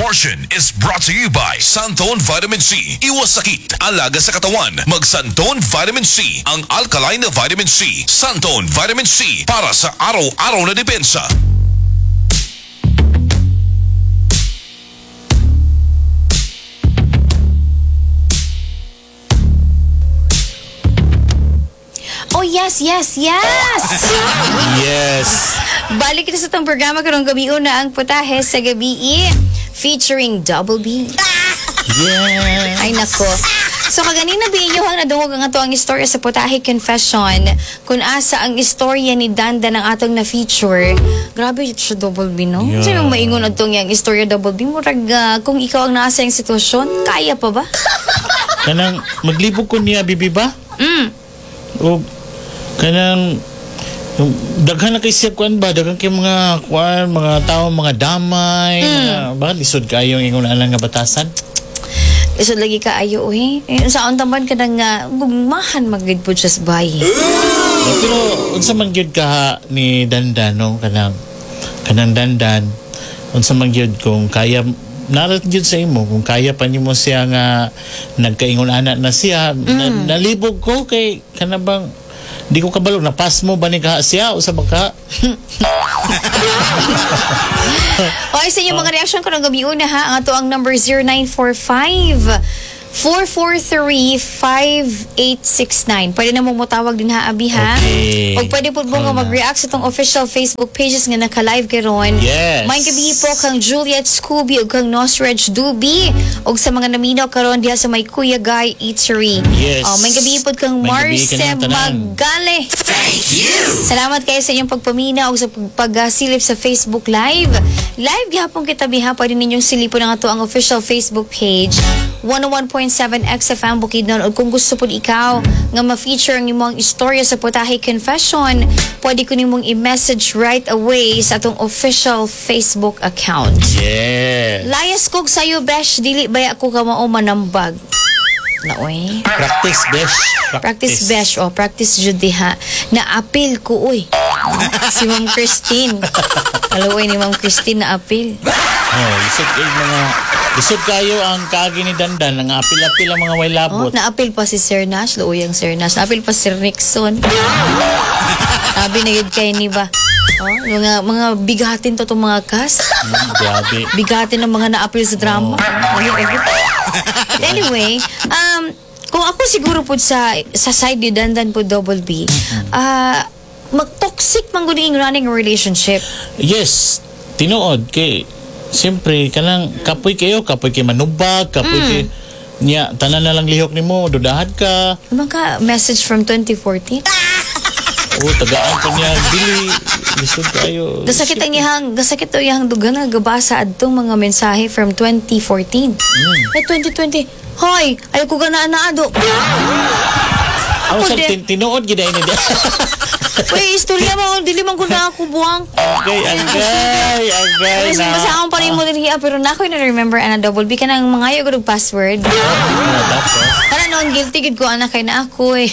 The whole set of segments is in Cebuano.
Portion is brought to you by Santone Vitamin C. Iwas sakit, alaga sa katawan. Mag Santone Vitamin C, ang alkaline na vitamin C. Santone Vitamin C, para sa araw-araw na depensa. Oh, yes! Yes. Balik kita sa itong programa karong gabi una ang Putahe sa Gabi featuring Double B. Yes. Ay nako. So kaganina bi inyo ang nadungog ang ato ang istorya sa Putahe Confession kung asa ang istorya ni Dandan ang atong na-feature. Grabe siya, Double B, no? Yeah. Sa yung maingon atong yang istorya, Double B, murag kung ikaw ang nasa yung sitwasyon, kaya pa ba? Kanang maglibog ko niya bibi ba? O kanang daghan na kay siya kuan ba, daghan kay mga kuan, mga tao, mga damay, mga ba lisod kayo ang ingon alang nga batasan. Isod lagi ka ayo eh. Eh, sa taman ka nang gugmahan magid po siya sa bayi. Eh, pero unsa man gyud ka ni Dandan, no, kanang kanang Dandan, unsa man gyud kung kaya narat gyud sa imo kung kaya pa nimo siya nga nagkaingon ana na siya na, nalibog ko kay kanabang di ko kabalo na pass mo ba ni ka siya o sa baka. Okay, sa inyong mga reaction ko ng gabi una ha, ang ato ang number 0945 443-5869. Pwede na mong mutawag din ha, Abi, ha? Okay. O pwede po mo nga Call na. mag-react sa itong official Facebook pages nga naka-live karon. Yes. May gabi po kang Juliet Scooby o kang Nosreg Dubi o sa mga naminaw karon diha sa may Kuya Guy Eatery. Yes. O, may gabi po kang May gabi Marce kanyang tanan. Magale. Salamat kayo sa inyong pagpamina o sa pagsilip sa Facebook Live. Live gihapon kita biha, pwede ninyong silipon ang ato ang official Facebook page 101.7 XFM Bukidnon, o kung gusto po ikaw nga ma-feature ang imong istorya sa Putahe Confession, pwede ko nimong i-message right away sa atong official Facebook account. Yes. Layas kog sayo, besh, dili baya ko ka mao manambag. Naoy. Practice besh. Practice besh o practice jud diha. Na-appeal ko uy. Si Ma'am Christine. Alam ni Ma'am Christine na appeal. Oh, lisod kay mga lisod kayo ang kaagi ni Dandan ang apil-apil ang mga way Oh, labot. na-appeal pa si Sir Nash, luuyang Sir Nash. Na-appeal pa si Sir Nixon. Sabi na yun kay ni ba? Oh, mga bigatin to tong mga cast. Grabe. Bigatin ng mga na-appeal sa drama. But anyway, kung ako siguro po sa side ni Dandan po, Double B, mag-toxic man gud yung running relationship. Yes, tinuod kay siyempre kanang kapoy kayo, kapoy kay manubag, kapoy kay niya tanan na lang lihok nimo, dudahad ka. Ano ka message from 2014? O tagaan pa niya dili lisod kayo. Gasakit ang iyang, gasakit to iyang dugan nga gabasa adtong mga mensahe from 2014. Eh 2020, hoy, ay ko gana naado. Ako Ako sa din. tinuod gid ay ni. Uy, istorya mo, dili man ko na ako buwang. Agay, agay, agay Ay, na. basta akong pa rin mo din hiya, pero na ako na remember ana, Double B ka nang mga ayaw ko password. Ah, tapos. Kana noon guilty gid ko ana kay na ako eh.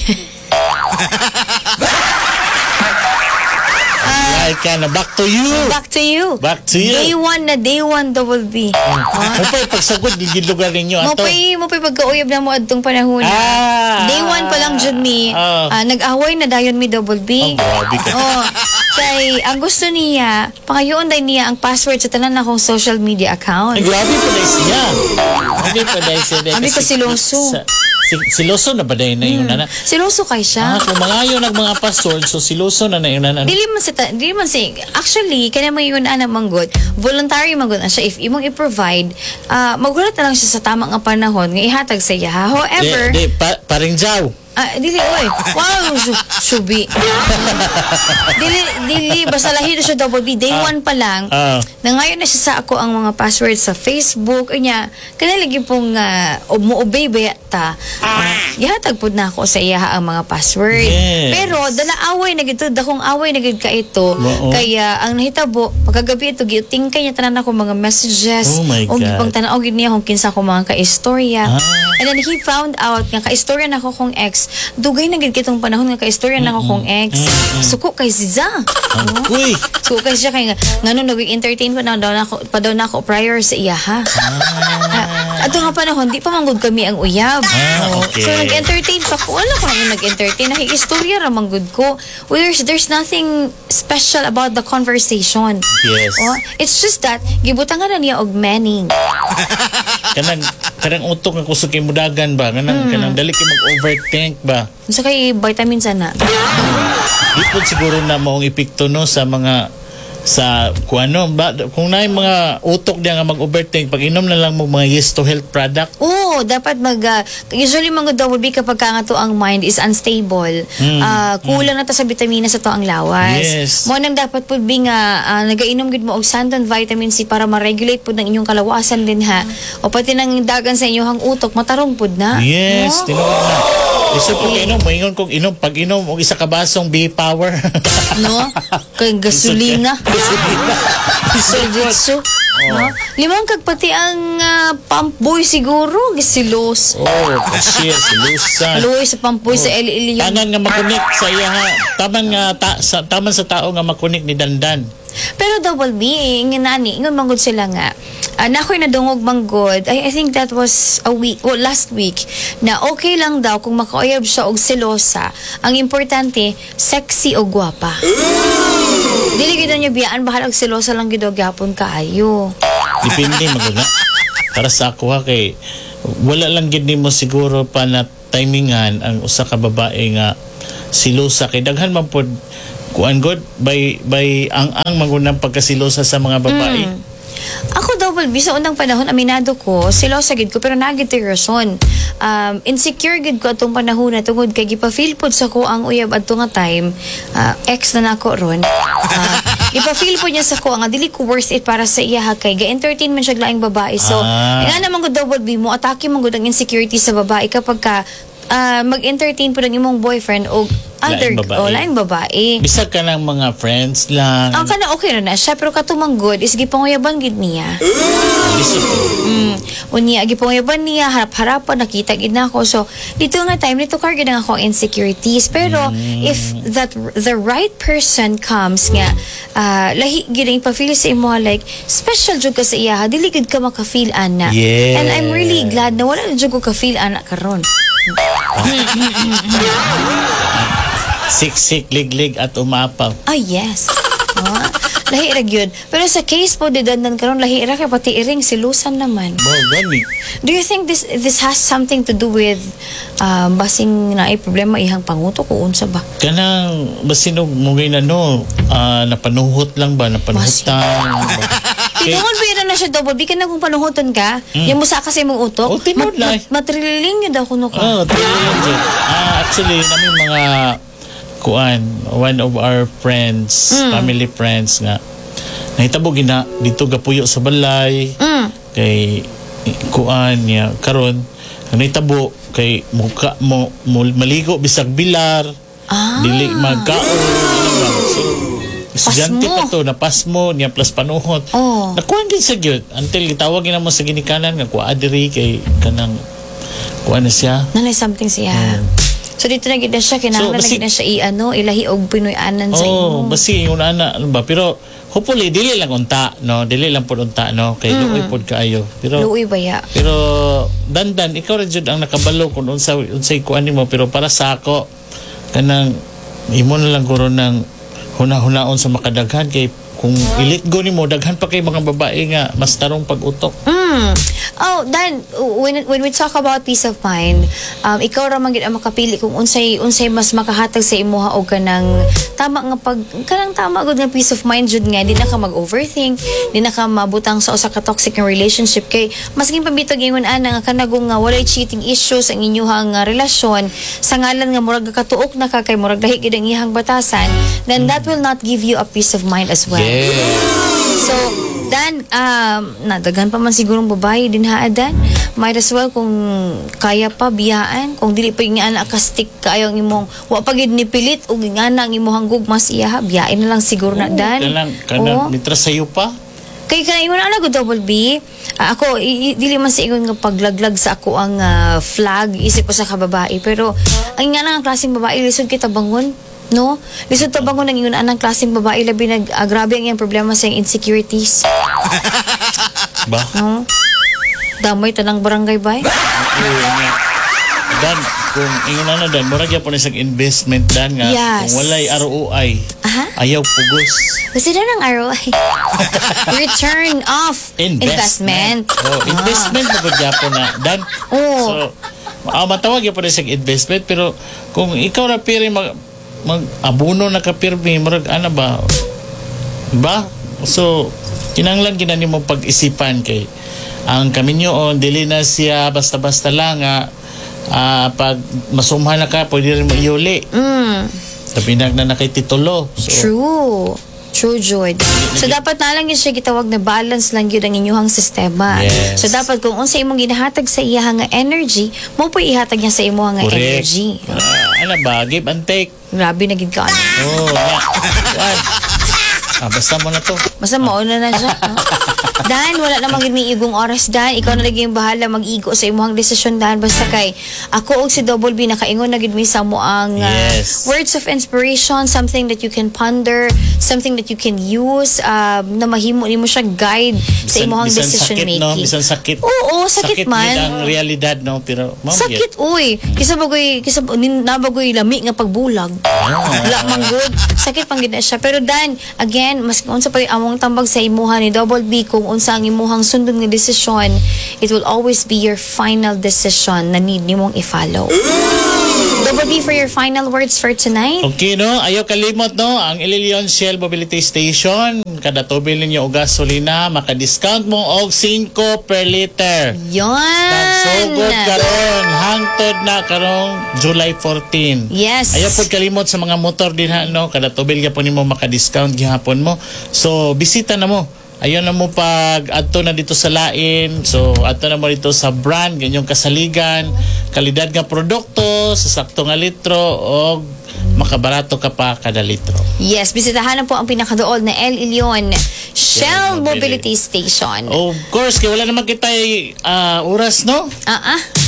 Like ka na back to you. Back to you. Back to you. Day one na day one, Double B. Mo pa'y pagsagod gid lugar ninyo Mo ato. pa'y mo pa'y pagkauyab na mo adtong panahon. Ah. Day one pa lang jud mi. Nag-away na dayon mi, Double B. Oh, grabe ka. Oh, kay ang gusto niya, pangayoon day niya ang password sa tanan akong social media account. Ay, grabe pa dahil siya. Grabe pa dahil siya. Abi ko si Loso. Si Loso na ba dahil na yun na? Siloso kay siya. Ah, kung mga yun ang mga password, so si Loso na na yun na. Dili man si actually kaya mo yun ana manggod, voluntary manggod na siya. If imong i-provide, magulat na lang siya sa tama nga panahon nga ihatag sa iya. However, Di, di, paring jaw. Ah, dili oy. Wow, subi. Dili dili basta lahi na siya, Double B. Day one pa lang. Nangayon na siya sa ako ang mga password sa Facebook unya. Kana lagi pong mo-obey ba ta. Gihatag pud na ako sa iya ang mga password. Yes. Pero dala away na gid to, dakong away na gid ka ito. Oo. Kaya ang nahitabo pagkagabi ito gitingkay niya tanan ako mga messages. Oh my Og God. gipang tan-aw gid niya kung kinsa ko mga kaistorya. Ah. And then he found out nga kaistorya nako kong ex. ex. Dugay na gid kitong panahon nga kaistorya na ako kong ex. Suko kay siya. Uy! Suko kay siya kay ngano nag-entertain pa daw na ako prior sa iya ha. Ah, ato nga panahon di pa manggod kami ang uyab. Ah, okay. So nag-entertain pa ko. Wala ko nang nag-entertain. Nakikistorya ra manggod ko. Well, there's nothing special about the conversation. Oh, it's just that gibutangan na niya og meaning. Kanang utok nga kusog kay mudagan ba, kanang dali kay mag-overthink ba. Unsa kay vitamins ana? Di po siguro na maong epekto, no, sa mga sa kung ano ba, kung naay mga utok diya nga mag-overthink, pag inom na lang mo mga Yes to Health product. Oo, dapat usually mga double B, kapag ka nga to ang mind is unstable, kulang na ta sa bitamina sa to ang lawas. Mo nang dapat pud bi nga nagainom gid mo og Santon Vitamin C para ma-regulate pud ang inyong kalawasan din ha. O pati nang dagan sa inyong utok matarong pud na. Yes. No? Tinuod na. Isa po inom, moingon kong inom, pag inom og isa ka basong B power. No? Kay gasolina. Gasolina. Diretso. No? Limang kag pati ang pump boy siguro gisilos. Oh, kasi silusan. Luoy sa pump boy sa El Elyon. Tanan nga makunik sa iya ha. Taman nga ta, sa taman sa tao nga makunik ni Dandan. Pero double B, nga nani, ingon manggod sila nga. Na ako'y nadungog manggod, I think that was a week, well, last week, na okay lang daw kung makauyab siya og selosa. Ang importante, sexy o gwapa. Dili gid niyo biyaan, bahal og selosa lang gid og gyapon kaayo. Depende magud na. Para sa ako ha, kay wala lang gid nimo siguro pa na timingan ang usa ka babae nga silosa, kay daghan man pod kuan god by ang magunang pagkasilosa sa mga babae. Ako, double B, sa unang panahon, aminado ko, selosa gid ko, pero naa gid to'y rason. Insecure gid ko atong panahon na tungod kay gipa-feel pod sa ko ang uyab adto nga time, ex na nako ron. Ipa-feel pod niya sa ko nga dili ko worth it para sa iya ha, kay ga-entertain man siya og laing babae. So, nga naman ko, double B, mo atake man gud ang insecurity sa babae kapag ka mag-entertain po ng imong boyfriend o other Laing babae. O laing babae. Bisag ka ng mga friends lang. Ang kana okay ra na siya, pero katumang good is gipanguyaban gid niya. Lisod. Unya gipanguyaban niya harap-harapan, nakita gid nako. So dito nga time nito car gid ang akong insecurities. Pero if that the right person comes nga lahi gid ang ipa-feel sa imo, like special jud ka sa iya, dili gid ka maka-feel ana. And I'm really glad na wala na jud ko ka-feel ana karon. Siksik, liglig at umapaw. Ah, yes. Ah, lahi ra gyud. Pero sa case po di Dandan karon, lahi ra kay pati iring silusan naman. Mo gani. Do you think this this has something to do with basing naay problema ihang pangutok o unsa ba? Kanang basin og mugay na no, napanuhot lang ba, napanuhutan ba? Tinuod ba na siya, double B, kanang kung panuhuton ka, yung musa kasi imong utok, Oh, tinuod lang. Matrililing yun daw kuno ka. Oh, tinuod jud. Actually, namin mga kuan, one of our friends, family friends nga nahitabo gina dito gapuyo sa balay kay kuan niya karon ang nahitabo kay muka mo maligo bisag bilar, dili magkaon, ano ba. So estudyante Pasmo. pa to, napasmo niya plus panuhot. Nakuan din sa gyud until gitawag gina mo sa ginikanan nga kuha diri kay kanang kuan na siya. Nanay something siya. So dito na gid na siya kinahanglan So, na gid na siya i-ano ilahi og Pinoy-anan sa Oh, imo. basi yung ana ano ba, pero hopefully dili lang unta no, dili lang pud unta no, kay luoy pud kaayo. Pero Luoy ba ya? Pero Dandan, ikaw ra jud ang nakabalo kung unsa unsay kuan nimo, pero para sa ako kanang imo na lang guro ng huna-hunaon sa makadaghan, kay kung i-let go nimo, daghan pa kay mga babae nga mas tarong pag-utok. Oh, Dan, when we talk about peace of mind, ikaw ra man gid ang makapili kung unsay unsay mas makahatag sa imuha og kanang tama nga pag kanang tama gud nga peace of mind jud nga di na ka mag-overthink, di na ka mabutang sa usa ka toxic nga relationship, kay masking pabitog ingon ana nga kanagong nga walay cheating issues ang inyuhang nga relasyon sa ngalan nga murag katuok na ka kay murag lahi gid ang iyang batasan, then that will not give you a peace of mind as well. So, Dan, nadaghan pa man sigurong babae din ha, Dan. Might as well kung kaya pa biyaan, kung dili pa yung anak ka stick kaayo ang imong wa pa gid ni pilit ug nga ang imong gugma sa iya ha, biyain na lang siguro na, Dan. Kanang Oo. mitra sayo pa. Kay kanang ingon ana ko, double B. Ako dili man sa ingon nga paglaglag sa ako ang flag isip ko sa kababae, pero Ang nga ang klaseng babae, lisod kita bangon. No? Lisod ta bangon ang ingon anang klaseng babae, labi nag grabe ang iyang problema sa iyang insecurities. Ba? No? Damay tanang barangay bay. Oo, nga. Dan, kung ingon na dan, murag gyapon na siyang investment, Dan, nga kung walay ROI, ayaw pugos. Kasi na ng ROI. Return of investment. Oh, investment na gud gyapon na, Dan. Oo. So, matawag gyapon na siyang investment, pero kung ikaw ra piri mag, mag abono na ka pirmi, murag ana ba? Ba? So, kinanglan gina nimo pag-isipan kay ang kaminyoon dili na siya basta-basta lang nga pag masumha na ka, pwede rin mo iuli. Sabi na na kay titulo. So, True. True, Jud. So, dapat na lang yun siya gitawag na balance lang yun ang inyong sistema. So, dapat kung unsa imong ginahatag sa iya nga energy, mo po ihatag niya sa imo nga energy. Ano ba? Give and take. Grabe na gid ka, ano. Oh, nga. What? Basta mo na to. Basta mauna na siya. No? Dan, wala namang gid may igong oras, Dan. Ikaw na lagi yung bahala mag-igo sa imong desisyon, Dan. Basta kay ako og si Double B nakaingon na gid mi sa mo ang words of inspiration, something that you can ponder, something that you can use na mahimo nimo siya guide sa imong Bisan decision sakit, no? making. Bisan sakit. Oo, sakit man. Yun ang realidad, no? Pero, ma'am, Sakit, uy. Kisa bagoy, kisa nabagoy lami nga pagbulag. Wala man good. Sakit pang gid na siya. Pero Dan, again, mas unsa pa yung among tambag sa imuha ni Double B, kung unsa ang imuhang sundon nga desisyon, it will always be your final decision na need nimong i-follow. Double B, for your final words for tonight. Okay, no? Ayaw kalimot, no? Ang El Leon Shell Mobility Station, kada tubil ninyo og gasolina, maka-discount mo og 5 per liter. Yon! Nagsugod karon hangtod na karong July 14. Ayaw pod kalimot sa mga motor din ha, no? Kada tubil gyapon nimo maka-discount gihapon mo. So bisita na mo. Ayaw na mo pag adto na dito sa lain. So adto na mo dito sa brand ganyong kasaligan, kalidad nga produkto sa sakto nga litro og makabarato ka pa kada litro. Yes, bisitahan na po ang pinakadool na El Ilion Shell Shell Mobility Mobility. Station. Of course, kay wala naman kita oras, no?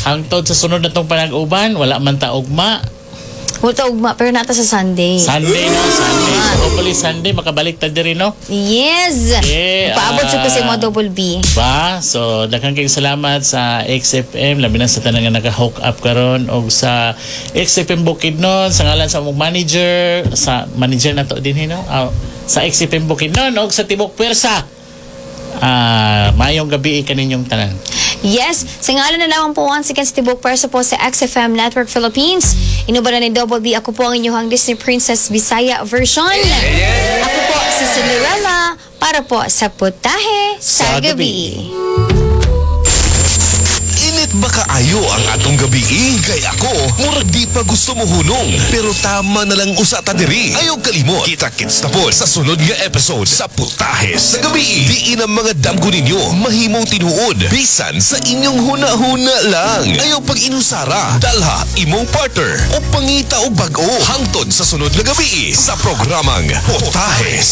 Hangtod sa sunod na tong panag-uban, wala man ta ugma. Wala ugma, pero nata sa Sunday. Sunday, no? Sunday. So, hopefully Sunday, makabalik ta diri, no? Yes! Yeah, Paabot siya ko sa imo, Double B. Ba? So, daghang kayong salamat sa XFM, labi na sa tanan nga naka-hook up karon og sa XFM Bukidnon, sa ngalan sa among manager, sa manager na to din, no? Sa XFM Bukidnon og sa Tibok Pwersa. Maayong gabi kaninyong tanan. Yes, sa ngalan na lamang po once again sa Tibok Pwersa po sa XFM Network Philippines. Inuban na ni Double B, ako po ang inyong Disney Princess Bisaya version. Ako po si Cinderella para po sa Putahe sa Sa Gabi. Gabi. Init ba kaayo ang atong gabi? Kay ako, murag di pa gusto mo hunong. Pero tama na lang usa ta diri. Ayaw kalimot. Kita-kits na po sa sunod nga episode sa Putahe sa Gabi. Diin ang mga damgo ninyo mahimong tinuod. Bisan sa inyong huna-huna lang. Ayaw pag inusara. Dalha imong partner o pangita og bag-o. Hangtod sa sunod nga gabi sa programang Putahe sa